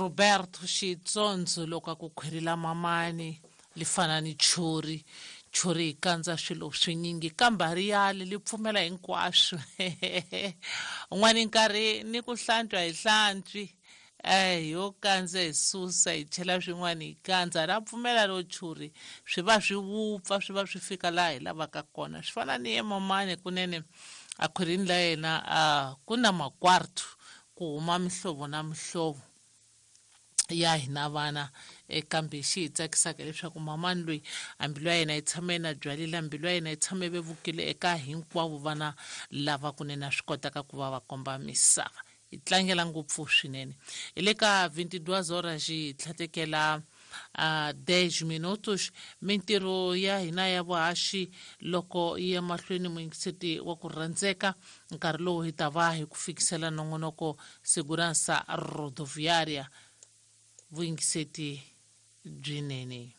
Roberto Xitsondzo loko a ku khwiri la mamani li fana ni churi churi yi kandza swilo swinyingi kambe a ri yali li pfumela hinkwaswo un'wana nkarhi ni ku hlantswa hi hlantswi eh yo kandza hi susa hi chela swin'wana hi kandza ra pfumela ro churi swi va swi wupfa swi va swi fika laha hi lavaka kona swi fana ni ye mamani kunene a khwirini la yena a ku na makwartu ku huma mihlovo na mihlovo ya hina vana kambe xi hi tsakisaka leswaku mamani loyi a mbilu ya yena yi tshame na byalile mbilu ya yena yi tshame vevukile eka hinkwavo vana lava kunene a swi kotaka ku va va komba misava hi tlangela ngopfu swinene hi le ka 22 horas hi tlhatekela 10 minutos mintirho ya hina ya vuhaxi loko yi ya mahlweni muyingiseti wa ku rhandzeka nkarhi lowu hi ta va hi ku fikisela nongonoko segurança rodoviária vuyingiseti byinene.